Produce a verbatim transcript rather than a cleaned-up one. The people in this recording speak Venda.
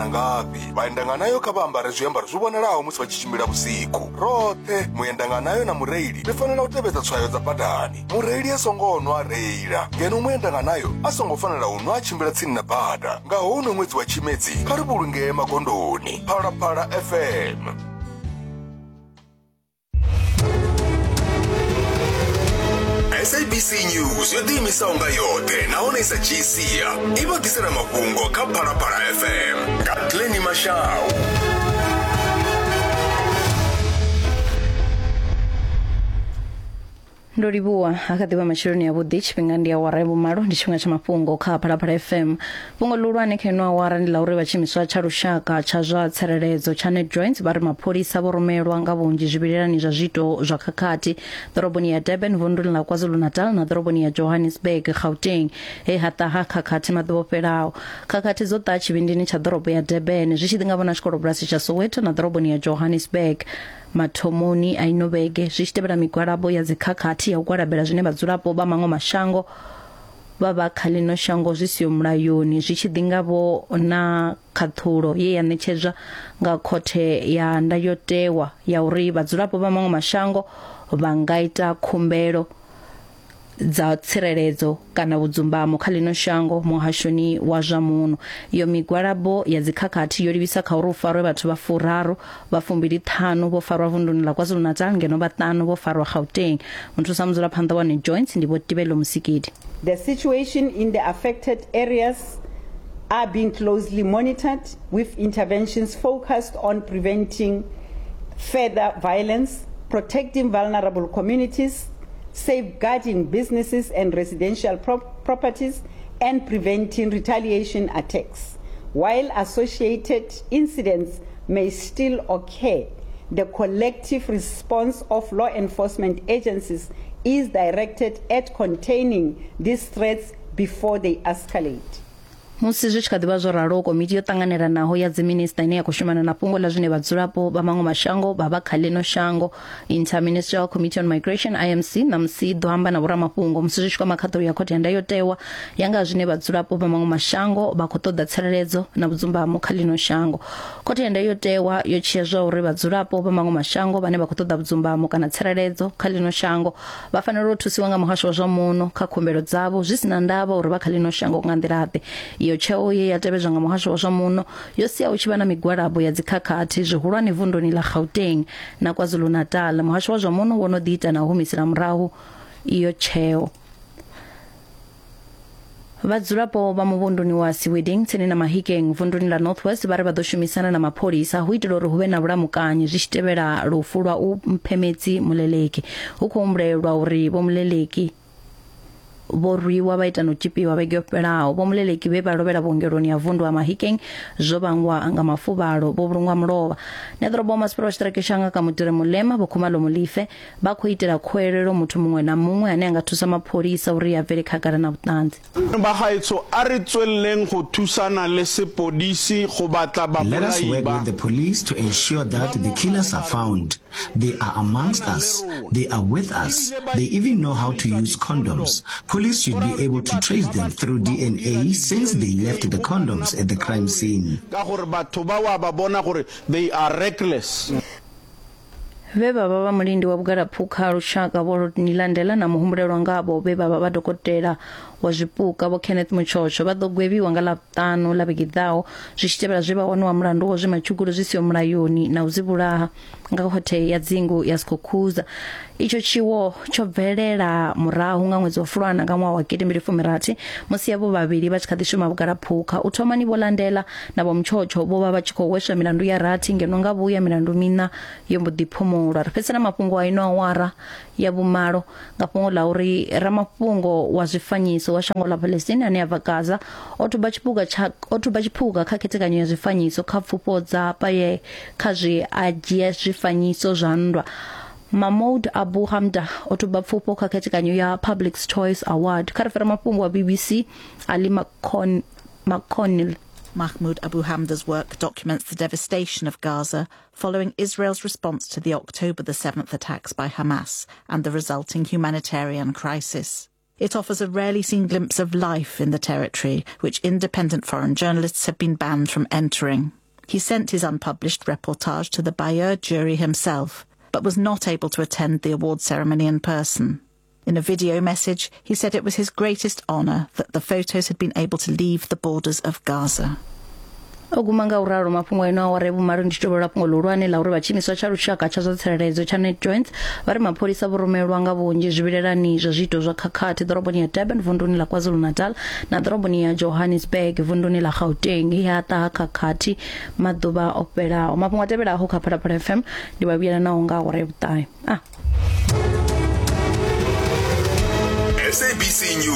na ngafhi. Vhaendanganayo kha vha ambare zwiambaro zwi vhonalaho musi vha tshi tshimbila vhusiku. Roṱhe muendanganayo na mureili ri fanela u tevhedza tswayo dza badani. Mureili a songo nwa a reila, ngeno muendanganayo a songo fanela u nwa a tshimbila tsini na bada. Nga houno ṅwedzi wa Tshimedzi, kha ri vhulungee magondoni. Phalaphala F M. S A B C News yo ḓiimisaho nga yoṱhe nahone i sa dzhii sia i vha ḓisela mafhungo kha Phalaphala F M nga Glennie Mashau. Ndo livhuwa ha kha ḓivha matsheloni avhuḓi, tshifhinga ndi awara ya vhumalo, ndi tshifhinga tsha mafhungo kha Phalaphala F M. Fhungo ḽihulwane kha ino awara ndi ḽa uri vha tshiimiswa tsha lushaka tsha zwa tsireledzo tsha NatJoints vha ri mapholisa vho rumelwa nga vhunzhi zwivhilelani zwa zwiito zwa khakhathi ḓoroboni ya Durban, vunduni ḽa KwaZulu-Natal na ḓoroboni ya Johannesburg, Gauteng, he ha ṱaha khakhathi maḓuvha o fhelaho. Khakhathi dzo ṱaha tshivhindini tsha ḓorobo ya Durban zwi tshi ḓi nga vhona tshikolobulasi tsha Soweto na ḓoroboni ya Johannesburg mathomoni a ino vhege, zwi tshi tevhela migwalabo ya dzikhakhathi ya u gwalabela zwine vhadzulapo vha maṅwe mashango vha vha kha ḽino shango zwi siho mulayoni, zwi tshi ḓi nga vho na khaṱhulo ye ya ṋetshedzwa nga khothe ya ndayotewa ya uri vhadzulapo vha maṅwe mashango vha nga ita khumbelo dza tsireledzo kana vhudzumbamo kha ḽino shango muhashoni wa zwa muno. Iyo migwalabo ya dzikhakhathi yo livhisa kha uri u farwe vhathu vha furaru, vha fumbili ṱhanu vho farwa vunduni ḽa KwaZulu-Natal ngeno vhaṱanu vho farwa Gauteng. Muthusa mudzulaphanḓa wa NatJoints ndi Vho Tibelo Musikidi. The situation in the affected areas are being closely monitored, with interventions focused on preventing further violence, protecting vulnerable communities, safeguarding businesses and residential pro- properties, and preventing retaliation attacks. While associated incidents may still occur, the collective response of law enforcement agencies is directed at containing these threats before they escalate. Musi zwi tshi kha ḓivha zwo ralo, komiti yo ṱanganelanaho ya dziminista ine ya khou shumana na fhungo ḽa zwine vhadzulapo vha maṅwe mashango vha vha kha ḽino shango, Interministerial Committee on Migration I M C, ṋamusi i ḓo amba na vhoramafhungo musi zwi tshi kwama khaṱulo ya khothe ya ndayotewa ya nga zwine vhadzulapo vha maṅwe mashango vha khou ṱoḓa tsireledzo na vhudzumbamo kha ḽino shango. Khothe ya ndayotewa yo tshia zwa uri vhadzulapo vha maṅwe mashango vhane vha khou ṱoḓa vhudzumbamo kana tsireledzo kha ḽino shango vha fanela u thusiwa nga muhasho wa zwa muno kha khumbelo dzavho zwi si na ndavha uri vha kha ḽino shango nga nḓila-ḓe. Iyo tsheo ye ya tevhedzwa nga muhasho wa zwa muno yo sia hu tshi vha na migwalabo ya dzikhakhathi zwihulwane vunduni ḽa Gauteng na KwaZulu-Natal. Muhasho wa zwa muno wo no ḓi ita na u humisela murahu iyo tsheo. Vhadzulapo vha muvhunduni wa Siweding tsini na Mahikeng vunduni ḽa North West vha ri vha ḓo shumisana na mapholisa hu itela uri hu vhe na vhulamukanyi zwi tshi tevhela lufu lwa u Mphemedzi Muleleki. Hu khou humbulelwa uri Vho Muleleki vho rwiwa vha ita no tshipiwa vhege yo fhelaho. Vho Muleleki vhe vha lovhela vhuongeloni ya vundu ha Mahikeng zwo vhangwa nga mafuvhalo, vho vhulungwa mulovha. Neḓorobo wa masipala wa tshiṱiriki tsha Ngaka Mutire Mulema Vho Khumalo Mulife vha khou itela khuwelelo muthu muṅwe na muṅwe ane a nga thusa mapholisa uri a bvele khagala na vhuṱanzi. Ba gaetsho a re tswelleng go thusana le sepodisi go batla Let us babolai work ba. with the police to ensure that the killers are found. They are amongst us. They are with us. They even know how to use condoms. Police should be able to trace them through D N A since they left the condoms at the crime scene. Ka gore batho ba wa ba bona gore they are reckless. Vhe vha vha vha mulindi wa vhugalaphukha lushaka Vho Rodney Landela na muhumbulelwa ngavho vhe vha vha vha dokotela wa zwipuka Vho Kenneth Mutshotsho vha ḓo gwevhiwa nga Ḽavhuṱanu ḽa vhege iḓaho zwi tshi tevhela zwe vha waniwa mulandu wa zwe matshugulu zwi siho mulayoni na u dzi vhulaha nga khothe ya dzingu ya Skukuza. Itsho tshiwo tsho bvelela murahu nga ṅwedzi wa Fulwana nga ṅwaha wa gidi mbili fumi rathi musi avho vhavhili vha tshi kha ḓi shuma vhugalaphukha. U thomani Vho Landela na Vho Mutshotsho vho vha vha tshi khou hweswa milandu ya rathi ngeno nga vhuya milandu miṋa yo mbo ḓi phumulwa. Ri fhedzisela mafhungo a ino awara ya vhumalo nga fhungo ḽa uri ramafhungo wa zwifanyiso wa shango ḽa Palestine ane a bva Gaza o thuba tshiphuga tsha o thuba tshiphuga kha khethekanyo ya zwifanyiso kha pfufho dza paye kha zwi a dzhia zwifanyiso zwa nndwa. Mahmoud Abu Hamda o thuba pfufho kha khethekanyo ya Public's Choice Award. Kha ri fere mafhungo wa B B C Ali McCon McConnell. Mahmoud Abu Hamda's work documents the devastation of Gaza following Israel's response to the October the seventh attacks by Hamas and the resulting humanitarian crisis. It offers a rarely seen glimpse of life in the territory, which independent foreign journalists have been banned from entering. He sent his unpublished reportage to the Bayeux jury himself, but was not able to attend the award ceremony in person. In a video message, he said it was his greatest honour that the photos had been able to leave the borders of Gaza. O guma nga uralo mafhungo ino awara vhumalo ndi tshi fhungo ḽihulwane ḽa uri vha tshiimiswa tsha lushaka tsha zwa tsireledzo tsha NatJoints vha ri mapholisa vho rumelwa nga vhunzhi zwivhilelani zwa zwiito zwa khakhathi ḓoroboni ya Durban vunduni ḽa KwaZulu-Natal na ḓoroboni ya Johannesburg vunduni ḽa Gauteng ya ṱaha khakhathi maḓuvha o fhelaho. Mafhungo a tevhelaho kha Phalaphala F M ndi vha vhuyela naho nga awara ya vhuṱahe. Ah. S A B C News.